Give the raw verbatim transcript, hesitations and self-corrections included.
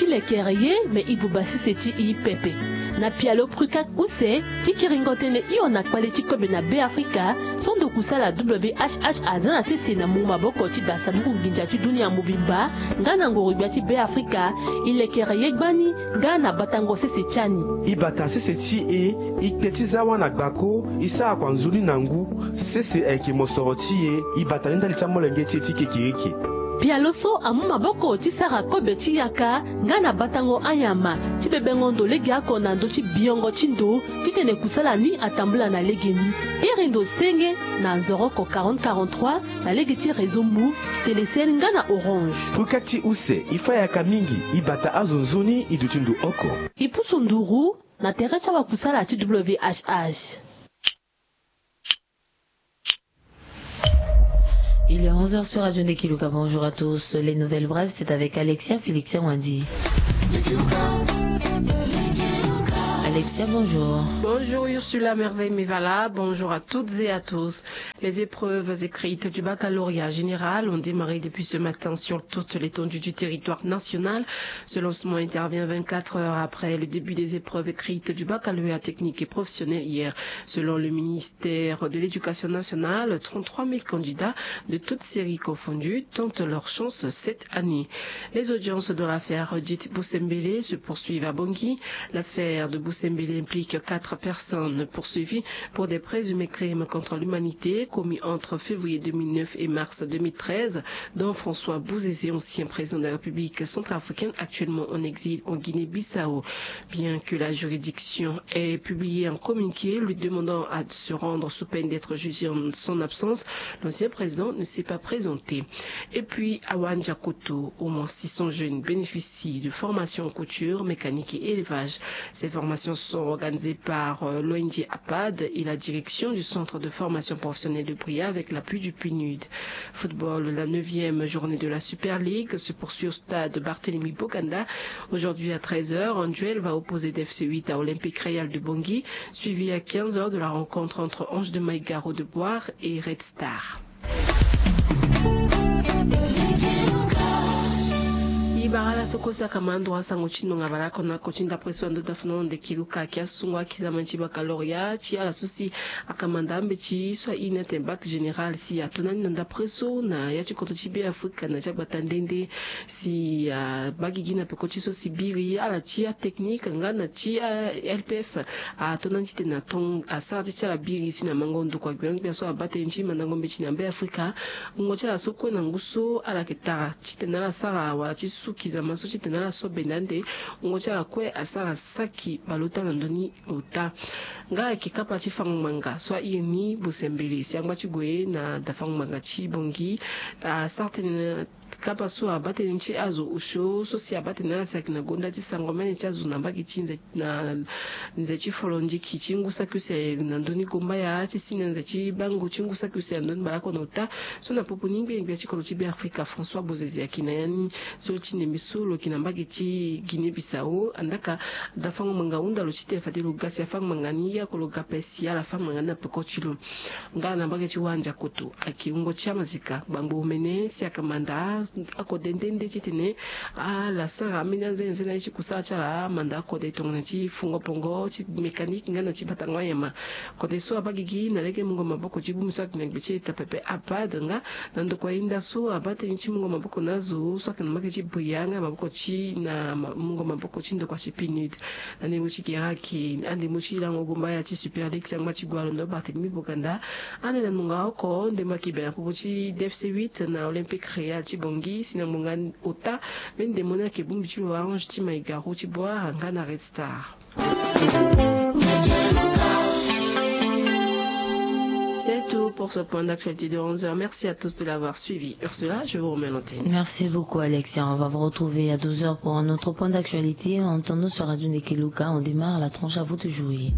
Lekere ye me e buba sese ti e pepe. Na pialo Prukat use ti kiringo tënë hio na kpale ti kobe na Beafrika, so ndo kusala W H H aza na sese na mungo maboko ti da sanduku nginza ti dunia mobimba nga na ngoro-gbia ti Beafrika, e lekere ye gbani nga na batango sese ti ani. E bata sese ti e, e kpe ti za wâ na gbako, e sara kua nzoni na ngu. Sese ayeke mosoro ti e, e bata ni ndali ti amolenge ti e ti kekereke. Pialo so amu maboko ti sara kobe ti yaka nga na batango anyama ti bebengo ndo legeoko na ndö ti biongo ti ndo titene kusala ni atambula na legeni. Iri ndo senge na nzoroko quarante quarante-trois na lege ti réseau Moov, Telecel nga na Orange. Prukat use, e fâ yaka mingi, e bata azo nzoni, e duti ndo oko. E pusu nduru na tere ti awakusala ti W H H. Il est onze heures sur Radio Ndekiluka. Bonjour à tous. Les nouvelles brèves, c'est avec Alexia Félixia Wandi. Alexia, bonjour. Bonjour Ursula Merveille Mevala. Bonjour à toutes et à tous. Les épreuves écrites du baccalauréat général ont démarré depuis ce matin sur toute l'étendue du territoire national. Ce lancement intervient vingt-quatre heures après le début des épreuves écrites du baccalauréat technique et professionnel hier. Selon le ministère de l'Éducation nationale, trente-trois mille candidats de toutes séries confondues tentent leur chance cette année. Les audiences dans l'affaire dite Boussembélé se poursuivent à Bangui. L'affaire de Boussembélé implique quatre personnes poursuivies pour des présumés crimes contre l'humanité commis entre février deux mille neuf et mars deux mille treize, dont François Bouzizi, ancien président de la République centrafricaine, actuellement en exil en Guinée-Bissau. Bien que la juridiction ait publié un communiqué lui demandant à se rendre sous peine d'être jugé en son absence, l'ancien président ne s'est pas présenté. Et puis, à Wandiakoto, au moins six cents jeunes bénéficient de formations en couture, mécanique et élevage. Ces formations sont organisées par, euh, l'O N G APAD et la direction du centre de formation professionnelle de Bria avec l'appui du PNUD. Football, la neuvième journée de la Super League se poursuit au stade Barthélemy Boganda. Aujourd'hui à treize heures, un duel va opposer D F C huit à Olympique Royal de Bangui, suivi à quinze heures de la rencontre entre Ange de Maïgaro de Boire et Red Star. E bara ala so kue si akama ndo asango ti nonga bale oko na oko ti ndapre so ando dafu na ndo ndekiluka ayeke asungo akizama ti baccalauréat ti ala so si akama nda mbeti so airi ni atene bac général si ato na ni na ndapre so na ya ti kodro ti Beafrika na ti agbata nde nde si abagigi na peko ti so si biri ala ti atechnique nga na ti a-L P F. Ato na ni titene aton asara ti ti ala biri si na mango ndokua gbia gbia so abaa tënë ti mandango mbeti na Beafrika. Wungo ti ala so kue na ngu so ala yeke tara titene ala sara wala ti suki zama so titene ala so benda ande. Wungo ti ala kue asara saki baleota na ndö ni ota. Nga ayeke kapa ti fango ngbanga so airi ni Bosembele si angba ti gue na da fango ngbanga ti Bangui. Asara tënë na kapa so abaa tënë ti azo osio so si abaa tënë ala si ayeke na gonda ti sango mene ti azo na mbage ti nze na nze ti folondiki ti ngu saki use na ndö ni gombaya ti si na nze ti bango ti ngu saki use na ndö ni baleoko na ota. So na popo ni ngbene gbia ti kodro ti Beafrika François Bozizé ayeke na ya ni so ti ndembe so lo yeke na mbage ti Guinée Bissau. Andaka da fango ngbanga hunda lo titene fade lo ga si afango ngbanga ni ye oko lo ga ape si ala fango ngbanga ni na peko ti lo. Nga na mbage ti Wandiakoto ayeke wungo ti amazika gbangbo omene si akama nda akode nde nde titene ala sara ambeni anzenze na ye ti kusala ti ala amanda akode tongana ti fungo pongo ti mécanique nga na ti batango anyama. Kode so abaa gigi na lege mungo maboko ti bongbi so ayeke na gbe ti eta pepe APAD nga na ndokua hinda so abaa tënë ti mungo maboko na azo so ayeke na mbage ti Bria nga maboko ti na ma- mungo maboko ti ndokua ti PNUD. Na ndembo ti gere ayeke andembo ti lango gombaya ti Super League si angba ti gue alondo Barthélemy Boganda. Ande na nunga oko ndembo ayeke be na popo ti D F C huit na Olympique Royal ti Bangui si na ngbonga ota. Mbeni ndembo ni ayeke bongbi ti lo Ange ti Maïgaro ti Boire nga na Red Star. C'est tout pour ce point d'actualité de onze heures. Merci à tous de l'avoir suivi. Ursula, je vous remets l'antenne. Merci beaucoup, Alexia. On va vous retrouver à douze heures pour un autre point d'actualité. En attendant sur Radio Ndekiluka, on démarre la tranche à vous de jouer.